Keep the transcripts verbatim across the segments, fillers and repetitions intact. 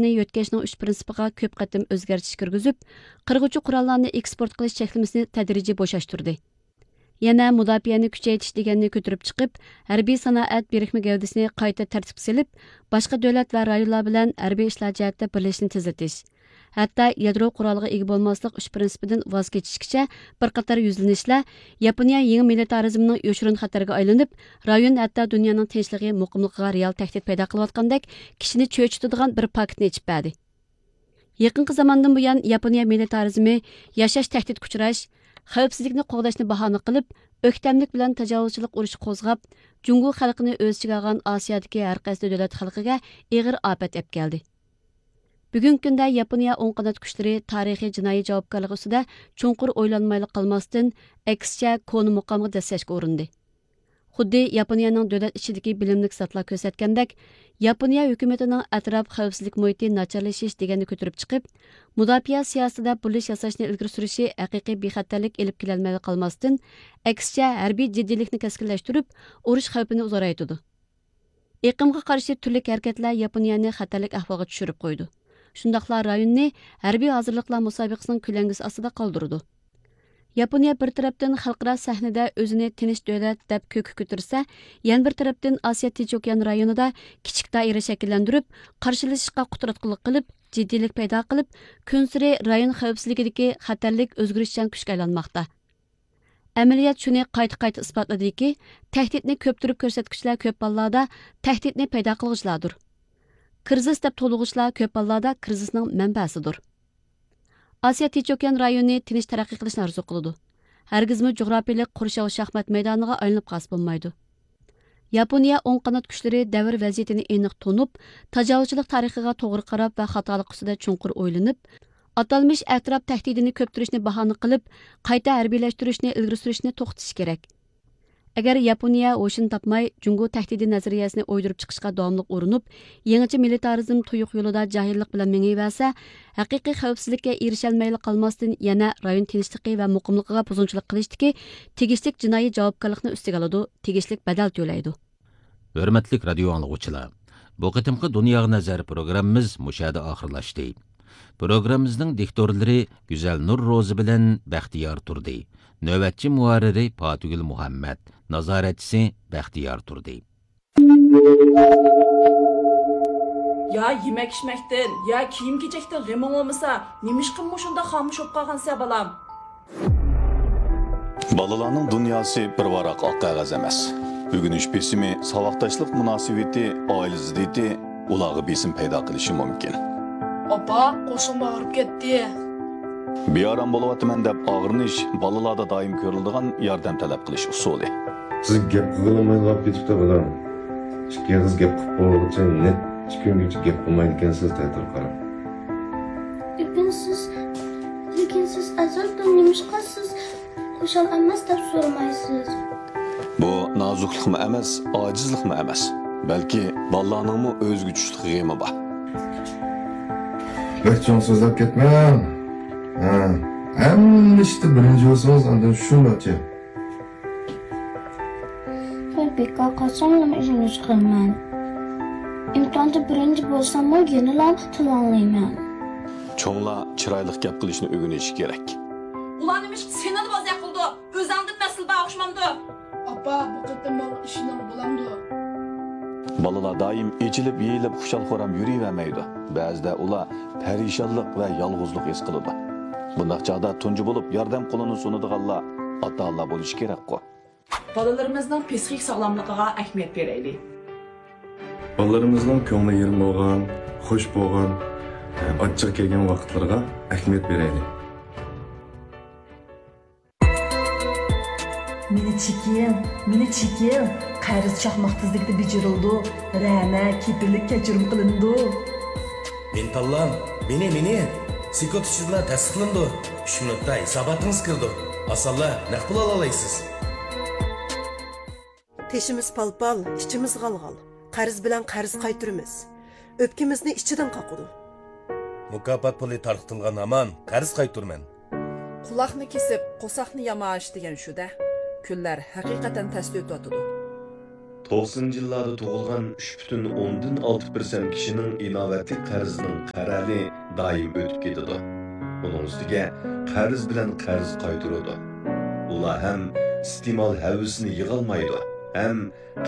يۆتكەشنىڭ ئۈچ پىرىنسىپىغا كۆپ قېتىم ئۆزگەرتىش كىرگۈزۈپ، قىرغۇچى قوراللارنى ئېكسپورت قىلىش چەكلىمىسىنى تەدرىجىي بوشاشتۇردى. يەنە مۇداپىئەنى كۈچەيتىش دېگەننى كۆتۈرۈپ چىقىپ، ھەربىي سانائەت بىرىكمە گەۋدىسىنى قايتا تەرتىپكە سېلىپ، باشقا دۆلەت ۋە رايونلار بىلەن ھەربىي ئىشلار جەھەتتە بىرلىشىشنى تېزلىتىش، ھەتتا يادرو قورالىغا ئىگە بولماسلىق ئۈچ پىرىنسىپىدىن ۋاز كېچىشكىچە بىر قاتار يۈزلىنىشلەر ياپونىيە يېڭى مىلىتارىزمنىڭ يوشۇرۇن خەتەرگە ئايلىنىپ، رايون ھەتتا دۇنيانىڭ تىنچلىقى، مۇقىملىقىغا رېئال تەھدىت پەيدا قىلىۋاتقاندەك كىشىنى چۆچۈتىدىغان بىر پاكىتنى ئېچىپ بەردى. يېقىنقى زاماندىن بۇيان ياپونىيە مىلىتارىزمى ياشاش تەھدىتكە ئۇچراش، خەۋپسىزلىكنى قوغداشنى باھانە قىلىپ، ئۆكتەملىك بىلەن تاجاۋۇزچىلىق ئۇرۇشى قوزغاپ، جۇڭگو خەلقىنى ئۆز ئىچىگە ئالغان ئاسىيادىكى ھەر قايسى دۆلەت خەلقىگە ئېغىر ئاپەت ئەپ كەلدى. بۈگۈنكى كۈندە ياپونىيە ئوڭ قانات كۈچلىرى تارىخىي جىنايى جاۋابكارلىقى ئۈستىدە چوڭقۇر ئويلانمايلا قالماستىن، ئەكسىچە كونا مۇقامغا دەسسەشكە ئۇرۇندى. خۇددى ياپونىيەنىڭ دۆلەت ئىچىدىكى بىلىملىك زاتلار كۆرسەتكەندەك، ياپونىيە ھۆكۈمىتىنىڭ ئەتراپ خەۋپسىزلىك مۇھىتى ناچارلىشىش دېگەننى كۆتۈرۈپ چىقىپ، مۇداپىئە سىياسىتىدە بۇرۇلۇش ياساشنى ئىلگىرى سۈرۈشى ھەقىقىي بىخەتەرلىك ئېلىپ كېلەلمەيلا قالماستىن، ئەكسىچە ھەربىي جىددىيلىكنى كەسكىنلەشتۈرۈپ، ئۇرۇش خەۋپىنى زورايتىدۇ. ئېقىمغا قارشى تۈرلۈك ھەرىكەتلەر ياپونىيەنى خەتەرلىك ئەھۋالغا چۈشۈرۈپ قويىدۇ. شۇنداقلا رايوننى ھەربىي ھازىرلىقلار مۇسابىقىسىنىڭ كۆلەڭگىسى ئاستىدا قالدۇرىدۇ. ياپونىيە بىر تەرەپتىن خەلقئارا سەھنىدە ئۆزىنى تىنچ دۆلەت دەپ كۆككە كۆتۈرسە، يەنە بىر تەرەپتىن ئاسىيا تىنچ ئوكيان رايونىدا كىچىك دائىرە شەكىللەندۈرۈپ، قارشىلىشىشقا قۇتراتقۇلۇق قىلىپ، جىددىيلىك پەيدا قىلىپ، كۈنسېرى رايون خەۋپسىزلىكىدىكى خەتەرلىك ئۆزگىرىشچان كۈچكە ئايلانماقتا. ئەمەلىيەت شۇنى قايتا-قايتا ئىسپاتلىدىكى، تەھدىتنى كۆپتۈرۈپ كۆرسەتكۈچىلەر كۆپ ھاللاردا تەھدىتنى پەيدا قىلغۇچىلاردۇر. كىرىزىس دەپ توۋلىغۇچىلار كۆپ ھاللاردا كىرىزىسنىڭ مەنبەسىدۇر. ئاسىيا تىنچ ئوكيان رايونى تىنچ تەرەققىي قىلىشنى ئارزۇ قىلىدۇ. ھەرگىزمۇ جۇغراپىيىلىق قورشاۋ شاھمات مەيدانىغا ئايلىنىپ قالسا بولمايدۇ. ياپونىيە ئوڭ قانات كۈچلىرى دەۋر ۋەزىيىتىنى ئېنىق تونۇپ، تاجاۋۇزچىلىق تارىخىغا توغرا قاراپ ۋە خاتالىق ئۈستىدە چوڭقۇر ئويلىنىپ، ئاتالمىش ئەتراپ تەھدىتىنى كۆپتۈرۈشنى باھانە قىلىپ، قايتا ھەربىيلەشتۈرۈشنى ئىلگىرى سۈرۈشنى توختىتىشى كېرەك. ئەگەر ياپونىيە ھوشىنى تاپماي، جۇڭگو تەھدىتى نەزەرىيەسىنى ئويدۇرۇپ چىقىشقا داۋاملىق ئۇرۇنۇپ، يېڭىچە مىلىتارىزم تۇيۇق يولىدا جاھىللىق بىلەن مېڭىۋەرسە، ھەقىقىي خەۋپسىزلىككە ئېرىشەلمەيلا قالماستىن، يەنە رايون تىنچلىقى ۋە مۇقىملىقىغا بۇزغۇنچىلىق قىلىشتىكى تېگىشلىك جىنايى جاۋابكارلىقنى ئۈستىگە ئالىدۇ، تېگىشلىك بەدەل تۆلەيدۇ. ھۆرمەتلىك رادىيو ئاڭلىغۇچىلار، بۇ قېتىمقى دۇنياغا نەزەر پروگراممىمىز مۇشۇ يەردە ئاخىرلاشتى. پروگراممىمىزنىڭ دىكتورلىرى گۈزەلنۇر روزى بىلەن بەختىيار تۇردى. نۆۋەتچى مۇھەررىرى پاتىگۈل مۇھەممەت، نازارەتچىسى بەختىيار تۇردى. يا يېمەك-ئىچمەكتىن، يا كىيىم-كېچەكتىن غېمىڭ بولمىسا، نېمىشقا مۇشۇنداق خامۇش بولۇپ قالغانسەن، بالام؟ بالىلارنىڭ دۇنياسى بىر ۋاراق ئاق قەغەز ئەمەس. ئۆگىنىش بېسىمى، ساۋاقداشلىق مۇناسىۋىتى، ئائىلە زىددىيىتى ئۇلارغا بېسىم پەيدا قىلىشى مۇمكىن. ئاپا، قورسىقىم ئاغرىپ كەتتى. بىئارام بولۇۋاتىمەن دەپ ئاغرىنىش بالىلاردا دائىم كۆرۈلىدىغان ياردەم تەلەپ قىلىش ئۇسۇلى. سىز گەپ قىلغىلىمايلا قېلىپ كېتىپتۇ، بالام. ئىككى ئېغىز گەپ قىلىپ بولغۇچە نەچچە كۈنگىچە گەپ قىلمايدىكەنسىز تەتۈر قاراپ. لېكىن سىز، لېكىن سىز ئەزەلدىن نېمىشقا سىز خۇشال ئەمەس دەپ سورىمايسىز؟ بۇ نازۇكلۇقمۇ ئەمەس، ئاجىزلىقمۇ ئەمەس، بەلكى بالىلارنىڭمۇ ئۆزىگە چۈشلۈك غېمى بار. بەك چوڭ سۆزلەپ كەتمەڭ. ھە، ھەممە ئىشتا بىرىنچى بولسىڭىز، ئاندىن شۇنداقچە. مەن بىكار قالساملا ئۆگىنىش قىلىمەن. ئىمتىھاندا بىرىنچى بولساممۇ يەنىلا تىل ئاڭلايمەن. چوڭلار چىرايلىق گەپ قىلىشنى ئۆگىنىشى كېرەك. ئۇلار نېمىشقا سېنىلا بوزەك قىلىدۇ؟ ئۆزەڭدىن مەسىلە بار ئوخشىمامدۇ؟ ئاپا، بۇ قېتىم ماڭا ئىشىنىڭ بولامدۇ؟ بالىلار دائىم ئېچىلىپ، يېيىلىپ، خۇشال-خۇرام يۈرۈۋەرمەيدۇ. بەزىدە ئۇلار پەرىشانلىق ۋە يالغۇزلۇق ھېس قىلىدۇ. بۇنداق چاغدا تۇنجى بولۇپ ياردەم قولىنى سۇنىدىغانلار ئاتا-ئانىلار بولۇشى كېرەكقۇ. بالىلىرىمىزنىڭ پسىخىك ساغلاملىقىغا ئەھمىيەت بېرەيلى. بالىلىرىمىزنىڭ كۆڭلى يېرىم بولغان، خۇش بولغان، ئاچچىق كەلگەن ۋاقىتلىرىغا ئەھمىيەت بېرەيلى. مېنى چېكىڭ، مېنى چېكىڭ، قەرز چاقماق تېزلىكتە بېجىرىلىدۇ، رەنە، كېپىللىك كەچۈرۈم قىلىنىدۇ. مېنى تاللاڭ، مېنى، مېنى! سېكۇنت ئىچىدىلا تەستىقلىنىدۇ. ئۈچ مىنۇتتا ھېساباتىڭىز كىرىدۇ. ئاسانلا نەق پۇل ئالالايسىز. تېشىمىز پال-پال، ئىچىمىز غال-غال. قەرز بىلەن قەرز قايتۇرىمىز. ئۆپكىمىزنى ئىچىدىن قاقىدۇ. مۇكاپات پۇلى تارقىتىلغان ھامان قەرز قايتۇرىمەن. قۇلاقنى كېسىپ، قورساقنى ياماش دېگەن شۇ-دە. كۈنلەر ھەقىقەتەن تەستە ئۆتۈۋاتىدۇ. توقسىنىنچى يىللاردا تۇغۇلغان ئۈچ پۈتۈن ئوندىن ئالتە پىرسەنت كىشىنىڭ ئىناۋەتلىك قەرزىنىڭ قەرەلى دائىم ئۆتۈپ كېتىدۇ. ئۇنىڭ ئۈستىگە قەرز بىلەن قەرز قايتۇرىدۇ. ئۇلار ھەم ئىستېمال ھەۋىسىنى يىغالمايدۇ، ھەم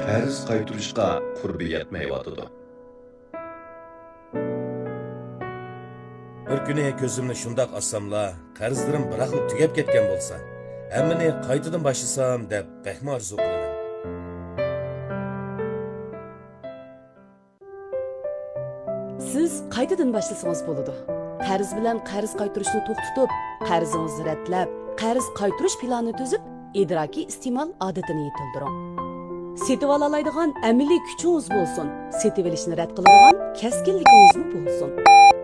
قەرز قايتۇرۇشقا قۇربى يەتمەيۋاتىدۇ. بىر كۈنى كۆزۈمنى شۇنداق ئاچساملا، قەرزلىرىم بىراقلا تۈگەپ كەتكەن بولسا، ھەممىنى قايتىدىن باشلىسام دەپ بەكمۇ ئارزۇ قىلىمەن. سىز قايتىدىن باشلىسىڭىز بولىدۇ. قەرز بىلەن قەرز قايتۇرۇشنى توختىتىپ، قەرزىڭىزنى رەتلەپ، قەرز قايتۇرۇش پىلانى تۈزۈپ، ئىدراكىي ئىستېمال ئادىتىنى يېتىلدۈرۈڭ. سېتىۋالالايدىغان ئەمەلىي كۈچىڭىز بولسۇن، سېتىۋېلىشنى رەت قىلىدىغان كەسكىنلىكىڭىزمۇ بولسۇن.